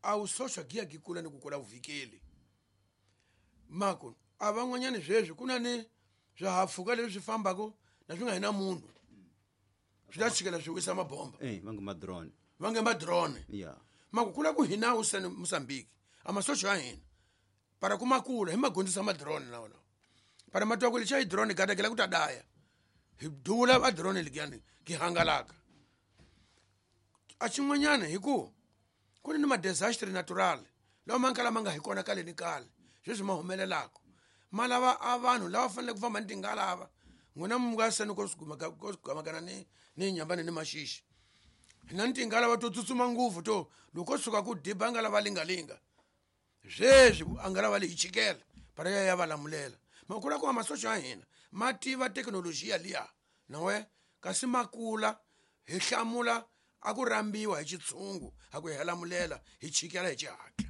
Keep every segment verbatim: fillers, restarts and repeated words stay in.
A wusocha giya gi kula ni ku kula vuvikeli. Mako a van'wanyana sweswi ku na ni swihahampfhuka leswi swi fambaka na swi nga hi na munhu. Swi ta chikela swi wisa mabomba. Eh, va nge ma-drone. Va nge ma-drone. Yeah. Mako kula ku hina wu sene Mozambique. A masocha ya hina. Para ku makula hi magondzisa ma-drone lawa lawa. Para matwa ku lexa hi drone gada ku ta daya. Hi duvula a drone ligani ki hangalaka. A xin'wanyana hi ku ku ni ma-disaster natural lawa ma kala ma nga hi kona kale ni kale sweswi ma humelelaka ma lava a vanhu lava faneleke ku famba ni tingalava n'wina mi nga seni ko gamakana ni ni nyambani ni maxixi hina ni tingalava to tsutsuma ngopfu to loko ko suka ku diba ngalava lingalinga sweswi a ngalava leyi chikela para ya ya va lamulela makula ku masocha ya hina ma tiva thekinolojiya liya nawe kasi makula hi hlamula a ku rambiwa hi xitshungu a ku hi lamulela hi chikela hi xihatla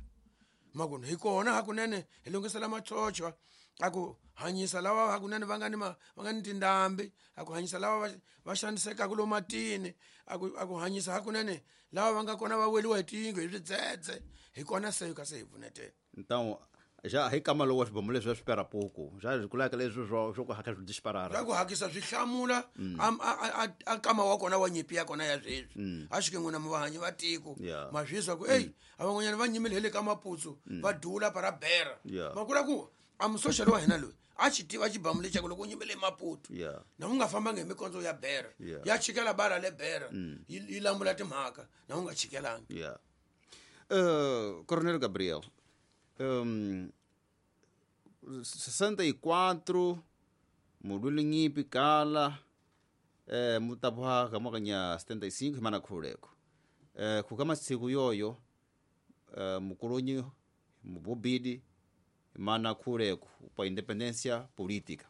makunu hi kona hakunene hi lunghisela machochwa a ku hanyisa lava hakunene va nga ni va nga ni tindhambi a ku hanyisa lava va xanisekaka lomu matini a ku a ku hanyisa hakunene lava va nga kona va weliwa hi tiyindlu hi swidzedze hi kona se ka se hi pfunetela. Então já reclama logo swibomo leswi swi pera pouco já kulaka leswi swo swo ku haka swi disparara swa ku hakisa swi hlamula a a kama wa kona wa nyimpi ya kona ya sweswi a xi ke n'wina vahanyi va tiko ma swi ku ey a van'wanyana va nyimile hi le ka Maputsu va dula para bera ma kula ku a musocha wa hina loyi a xi tiva xibamu lexaku loko u nyimile Maputo na u nga fambanga hi mikondzo ya bera ya chikela bala le bera yi lamula timhaka na u nga chikelangi. Yeah. Uh, Coronel Gabriel, um, sessenta e quatro mulwile nyipi kala eh, mutabuha kamwakanya setenta e cinco himana khuleko eh, kukama siku yoyo eh, mukolonyi mubobidi mana khuleko pa independência política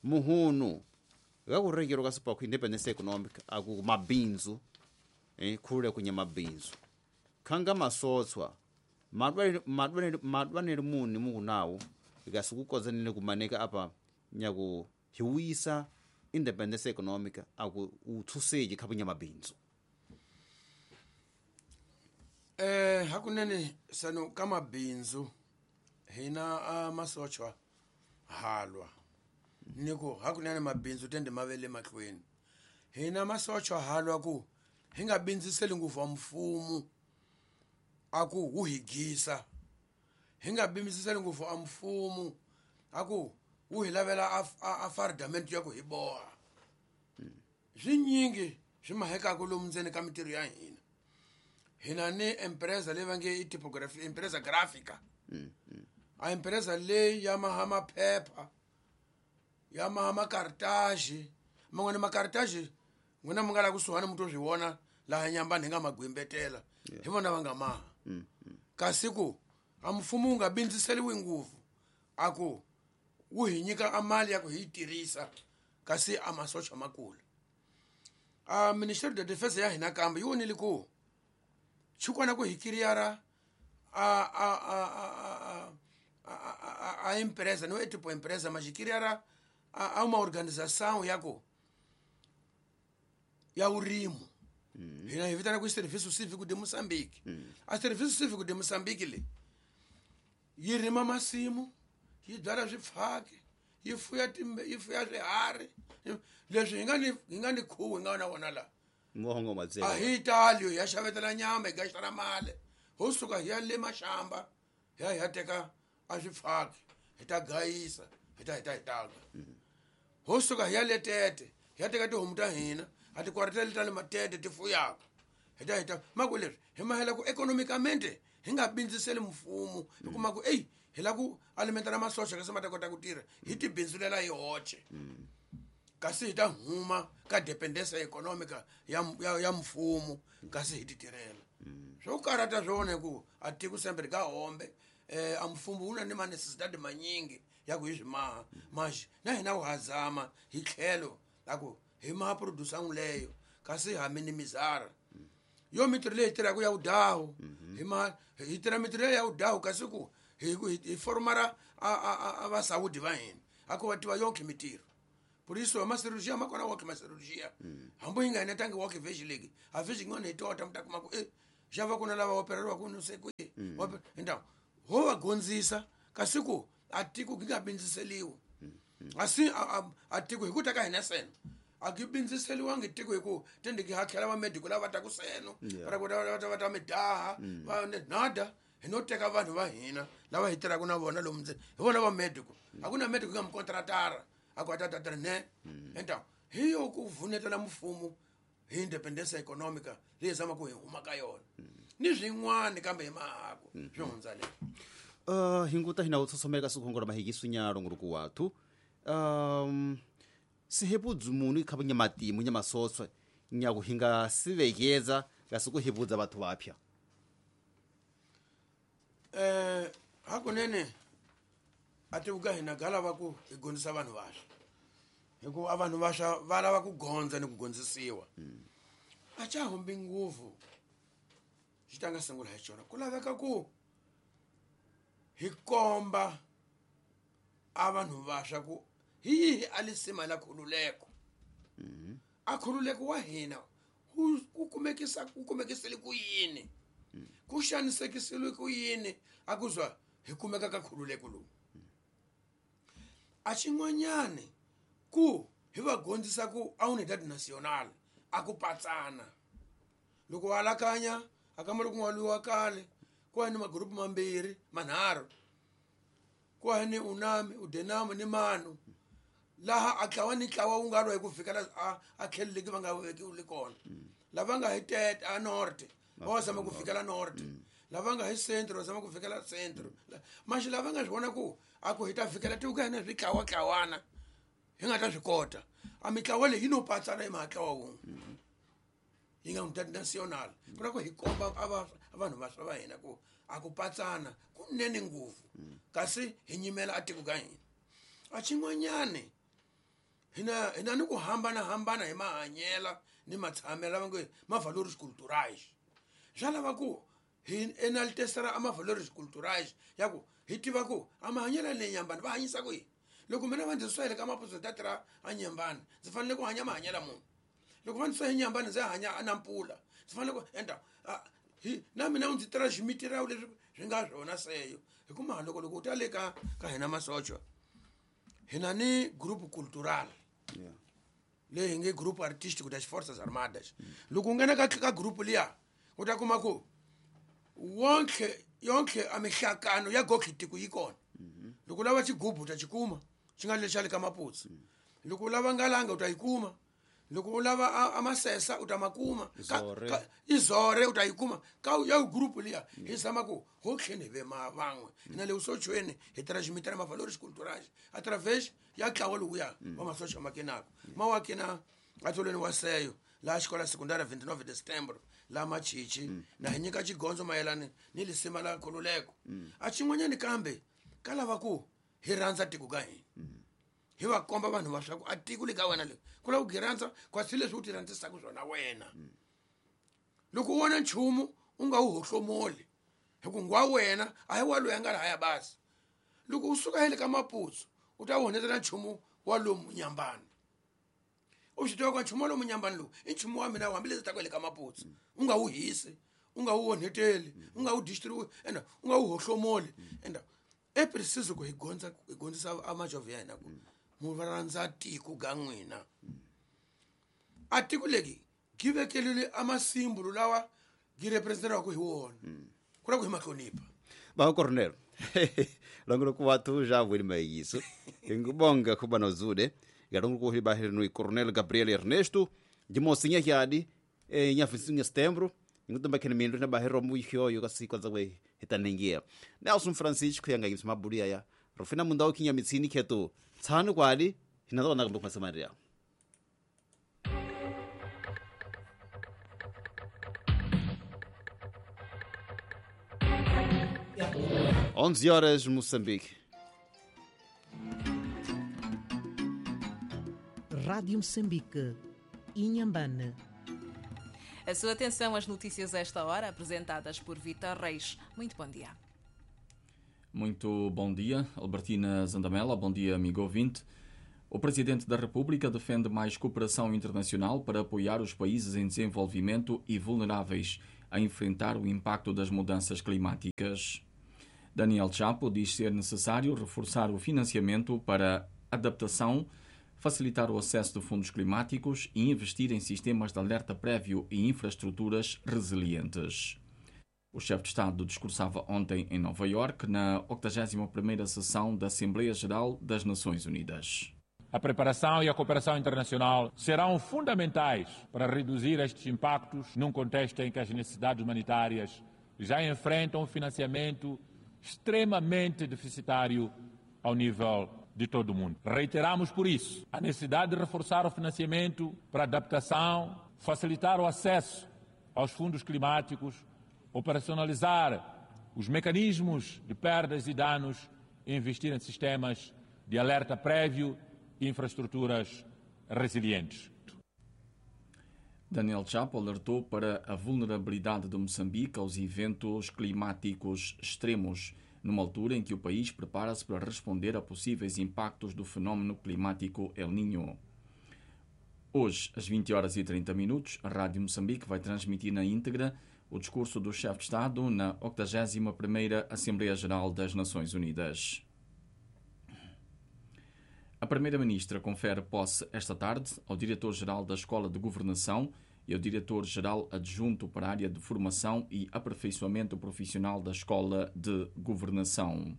muhunu gakurekero kasipa ku independência econômica aku mabinzu eh, khuleko nya mabinzu khanga masotswa madwane madwane muni mukunawo ikasukukozanile kumaneka apa nyaku hiwisa independence economic aku uthuseje khabunya mabinzu. Eh hakunene sano kama binzu hina amasochwa halwa niko hakunene mabinzu tende mavele mahlweni hina masochwa halwa ku hinga binziseli nguvu wa mfumo aku wuhigisa hinga binziseli nguvu wa mfumo aku wuhilavela a fardamento ya ku hi boha swinyingi swi mahekaka lomu ndzeni ka mintirho ya hina hina ni empresa leyi va nge i typography empresa gráfica a empresa leyi ya maha maphepha ya maha makartaji man'wana makartaji n'wina mi nga la kusuhani mi to swi vona laha Nyambani hi nga magwimbetela hi vona va nga maha kasi ku a mfumo wu nga bindziseliwi ngopfu a ku wu hi nyika a mali ya ku hi yi tirhisa kasi a masocha makula a Ministério da Defesa ya hina kambe yi vonile ku xikwana ku hi kiriyara a a a a a a empresa não é tipo empresa mas kiriyara a a uma organização ya ku ya urimo hina hi vitana ku Serviço Cívico de Moçambique a Serviço Cívico de Moçambique le yi rima masimu yi byala swifaki yi fuya timbe yi fuya swiharhi leswi hi nga ni hi nga ni khuwa hi nga na wona la muhongo matsela a hi tali ya xavetela nyama hi gaxitana mali ho suka hi ya le maxamba hi ya hi ya teka a swifaki hi ta gayisa hi ta hi ta hi taka ho suka hi ya le Tete hi ya teka tihomu ta hina a ti kwariteli ta le Matete ti fuyaka hi ta hi ta maku leswi hi mahela ku economicamente hi nga bindziseli mfumo hi kuma ku ey hi la ku alimentana masocha kasi ma ta kota ku tirha hi ti bindzulela hi hoxe kasi hi ta huma ka dependência econômica ya ya, ya mfumo kasi hi ti tirhela swo karata swona ku a tiko sempre ka hombe eh a mfumo wu na ni ma-necessidade manyingi ya ku hi swi maha maxi na hina wu hazama hi tlhelo la ku hi maha produção leyo kasi ha minimizara yo mintirho leyi tirhaka ya vudawu hi ma hi tirha mintirho leyi ya vudawu kasi ku hi hi formara a a a va saúde va hina a ku va tiva yonke mintirho por isso ma cirurgia ma kona woke ma cirurgia hambi yi nga enetangi woke vhexi leki a vhexi yin'wana hi tota mi ta kuma ku e xa va ku na lava opereriwaka no se ku Mm. Então, ho va gonzisa kasi ku a tiko gi nga bindziseliwi. Asi a tiko hi ku ta ka hina seno. A gi bindziseliwangi tiko hi ku tende gi hatlhela va medical lava ta ku seno. Va ku va ta va ta midaha, va nada hi no teka vanhu va hina lava hi tirhaka na vona lomu ndzeni. Hi vona va medical. A ku na medical nga mukontratara. A ku ta ta ta ne. Então, hi yo ku vunetela mfumo hi independence economica leyi zama ku hi huma ka yona. Ni swin'wana kambe hi mahako swi hundza le. Uh hinguta hina utsosomeka sikhongora mahikisunyalo nguruku wathu. Um sihebudzu munu ikhabunya matimu nyamasotswe nyakuhinga sivekeza ngasikuhebudza bathu bapya. Eh hakunene ativuka hina gala va ku hi gondzisa vanhu vasha. Hikuva vanhu vasha va lava ku gondza ni ku gondzisiwa. A cha humbi nguvu xi ta nga sungula hi xona ku laveka ku hi komba a vanhu vasha ku hi yihi a lisima la khululeko. A khululeko wa hina ku kumekisa ku kumekisele ku yini, ku xanisekisile ku yini a ku zwa hi kumeka ka khululeko lowu. A xin'wanyani ku hi va gondzisa ku a unidad nacional a ku patsana. Loko wa alakanya a ka loko n'waliwa kale ku ni magrupu mambirhi manharhu ku ni unami udenamo ni manu laha a tlawa ni tlawa wu nga lwa hi ku fikela a a tlheleleki va nga vekiwi kona. Lava nga hi tete a norte va zama ku fikela norte, lava nga hi centro va zama ku fikela centro. Maxi lava nga swi vona ku a ku hi ta fikela tiko ka hina swi tlawa tlawana hi nga ta swi kota. A mitlawa leyi yi no patsana hi mahatlawa wun'we yi nga unidad nacional. Ku ku hi komba a va vanhu vaswa va hina ku a ku patsana kunene ngopfu kasi hi nyimela a tiko ka hina. A xin'wanyani hina hina ni ku hambana hambana hi mahanyela ni matshamela va nge ma valores culturais. Swa lava ku hi enaltesera a ma valores culturais ya ku hi tiva ku a mahanyela ni nyambani va hanyisa ku yini. Loko mina va ndzi swele ka maputsu ta tirha a nyambani ndzi fanele ku hanya mahanyela munhu. Loko va ndzi swa hi nyambani ndzi hanya a nampula ndzi fanele ku endla hi na mina ndzi tirha ximitirawu leswi swi nga swona seyo. Hi ku loko loko u ta le ka ka hina masocha hina ni groupe cultural leyi hi nge groupe artístico das Forças Armadas. Loko u nghena ka ka groupe liya u ta kuma ku wonke yonke a mihlakano ya goki tiko yi kona. Loko u lava xigubu u ta xi kuma xi nga le xa le ka maputsu. Loko u lava ngalanga u ta yi kuma. Loko u lava a masesa u ta makuma. Izore u ta yi kuma ka ya group liya hi zama ku ho tlhene ve ma van'we hina le usochweni hi transmitter ma valores culturais através ya tlawa lowuya wa masocha makenako ma wa kena atolweni wa seyo la xikola secundária vinte e nove de setembro la machichi na hi nyika xigondzo mayelana ni lisima la khululeko. A xin'wanyani kambe ka lava ku hi rhandza tiko ka hina hi va komba vanhu va swa ku a tiko le ka wena le ku lava ku rhandza kasi leswi u ti rhandzisaka swona wena. Loko u vona nchumu u nga wu hohlomoli hi ku ngwa wena a hi wa loyi a nga lahaya basi. Loko u suka hele ka maputsu u ta honetela nchumu wa lomu nyambani. U swi tiva ku nchumu wa lomu nyambani lowu i nchumu wa mina hambileswi ta ku hele ka maputsu u nga wu hisi, u nga wu onheteli, u nga wu distribute enda u nga wu hohlomoli. Enda e preciso ku hi gondza hi gondzisa a majovhi ya hina ku mu va rhandza tiko ga n'wina. A tiko legi gi vekelile a masimbulu lawa gi representeraka hi wona ku la ku hi mahlonipha. Ba Coronel langolo ku wathu ja vuli mayiso ngibonga kuba nozude galongo ku hiba no Coronel Gabriel Ernesto de mocinha yadi e nya vinte e cinco de setembro ngutomba kene mindu na bahero muhyoyo kasiko zakwe hitanengia Nelson Francisco yanga ngimsmabulia ya Rufina mundao kinya mitsini ketu tsanu kwali hinazona kumbe kumasamaria. onze horas, Moçambique. Rádio Moçambique, Inhambane. A sua atenção às notícias a esta hora, apresentadas por Vítor Reis. Muito bom dia. Muito bom dia, Albertina Zandamela. Bom dia, amigo ouvinte. O Presidente da República defende mais cooperação internacional para apoiar os países em desenvolvimento e vulneráveis. a enfrentar o impacto das mudanças climáticas. Daniel Chapo diz ser necessário reforçar o financiamento para adaptação, facilitar o acesso de fundos climáticos e investir em sistemas de alerta prévio e infraestruturas resilientes. O chefe de Estado discursava ontem em Nova Iorque, na octagésima primeira sessão da Assembleia Geral das Nações Unidas. A preparação e a cooperação internacional serão fundamentais para reduzir estes impactos num contexto em que as necessidades humanitárias já enfrentam um financiamento extremamente deficitário ao nível de todo o mundo. Reiteramos, por isso, a necessidade de reforçar o financiamento para adaptação, facilitar o acesso aos fundos climáticos, operacionalizar os mecanismos de perdas e danos e investir em sistemas de alerta prévio e infraestruturas resilientes. Daniel Chapo alertou para a vulnerabilidade de Moçambique aos eventos climáticos extremos, numa altura em que o país prepara-se para responder a possíveis impactos do fenómeno climático El Niño. Hoje, às vinte horas e trinta minutos, a Rádio Moçambique vai transmitir na íntegra o discurso do chefe de Estado na octagésima primeira Assembleia Geral das Nações Unidas. A Primeira-Ministra confere posse esta tarde ao Diretor-Geral da Escola de Governação e ao Diretor-Geral Adjunto para a área de Formação e Aperfeiçoamento Profissional da Escola de Governação.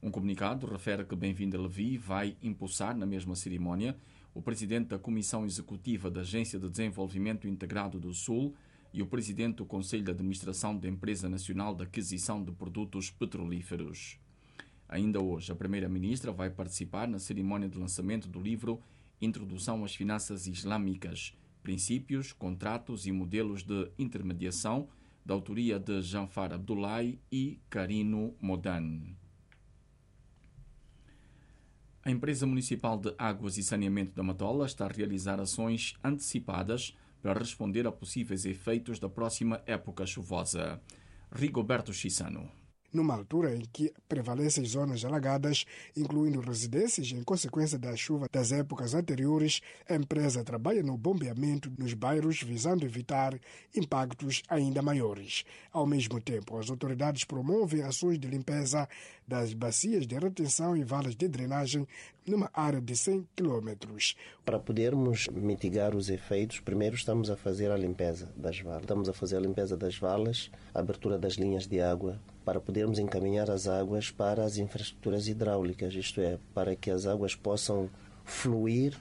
Um comunicado refere que Benvinda Levi vai impulsar, na mesma cerimónia, o Presidente da Comissão Executiva da Agência de Desenvolvimento Integrado do Sul e o Presidente do Conselho de Administração da Empresa Nacional de Aquisição de Produtos Petrolíferos. Ainda hoje, a Primeira-Ministra vai participar na cerimónia de lançamento do livro Introdução às Finanças Islâmicas, Princípios, Contratos e Modelos de Intermediação, da autoria de Janfar Abdullahi e Carino Modan. A Empresa Municipal de Águas e Saneamento da Matola está a realizar ações antecipadas para responder a possíveis efeitos da próxima época chuvosa. Rigoberto Chissano. Numa altura em que prevalecem zonas alagadas, incluindo residências em consequência da chuva das épocas anteriores, a empresa trabalha no bombeamento nos bairros visando evitar impactos ainda maiores. Ao mesmo tempo, as autoridades promovem ações de limpeza das bacias de retenção e valas de drenagem numa área de cem quilômetros. Para podermos mitigar os efeitos, primeiro estamos a fazer a limpeza das valas. Estamos a fazer a limpeza das valas, a abertura das linhas de água, para podermos encaminhar as águas para as infraestruturas hidráulicas, isto é, para que as águas possam fluir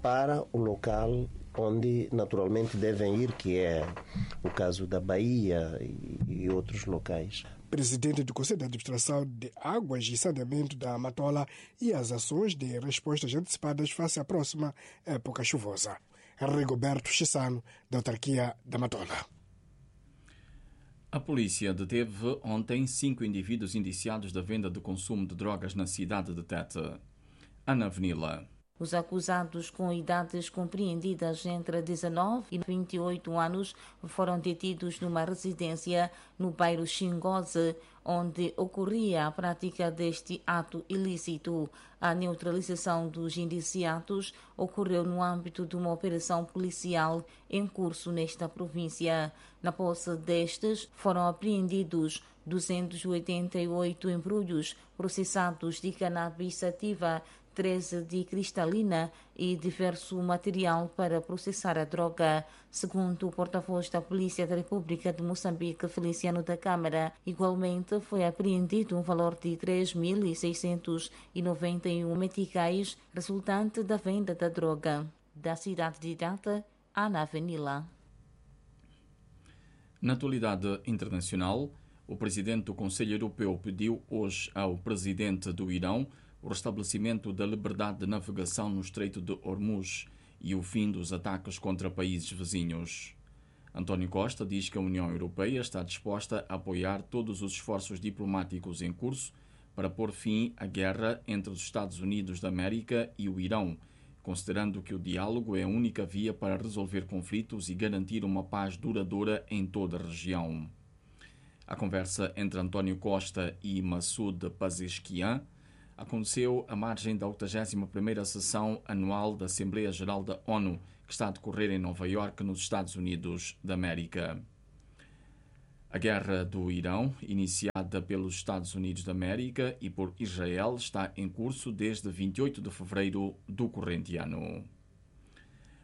para o local onde naturalmente devem ir, que é o caso da Bahia e outros locais. Presidente do Conselho de Administração de Águas e Saneamento da Matola e as ações de respostas antecipadas face à próxima época chuvosa. Rigoberto Chissano, da autarquia da Matola. A polícia deteve ontem cinco indivíduos indiciados da venda de consumo de drogas na cidade de Tete. Ana Venila. Os acusados, com idades compreendidas entre dezanove e vinte e oito anos, foram detidos numa residência no bairro Xingoze, onde ocorria a prática deste ato ilícito. A neutralização dos indiciados ocorreu no âmbito de uma operação policial em curso nesta província. Na posse destes, foram apreendidos duzentos e oitenta e oito embrulhos processados de cannabis sativa, treze de cristalina e diverso material para processar a droga. Segundo o porta-voz da Polícia da República de Moçambique, Feliciano da Câmara, igualmente foi apreendido um valor de três mil seiscentos e noventa e um meticais resultante da venda da droga. Da cidade de Tete, Ana Venila. Na atualidade internacional, o presidente do Conselho Europeu pediu hoje ao presidente do Irão o restabelecimento da liberdade de navegação no Estreito de Hormuz e o fim dos ataques contra países vizinhos. António Costa diz que a União Europeia está disposta a apoiar todos os esforços diplomáticos em curso para pôr fim à guerra entre os Estados Unidos da América e o Irão, considerando que o diálogo é a única via para resolver conflitos e garantir uma paz duradoura em toda a região. A conversa entre António Costa e Masoud Pezeshkian aconteceu à margem da octagésima primeira sessão anual da Assembleia Geral da ONU, que está a decorrer em Nova Iorque, nos Estados Unidos da América. A guerra do Irão, iniciada pelos Estados Unidos da América e por Israel, está em curso desde vinte e oito de fevereiro do corrente ano.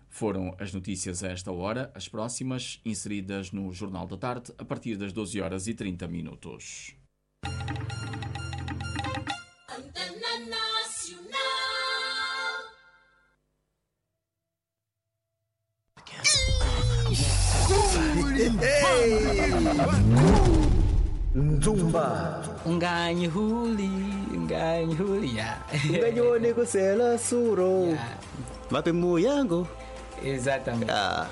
Foram as notícias a esta hora, as próximas inseridas no Jornal da Tarde a partir das doze horas e trinta minutos. Nzumba Nganyhuli Nganyhuli ya Nganyone kusela suro. Mape muyango. Exatamente. Ah.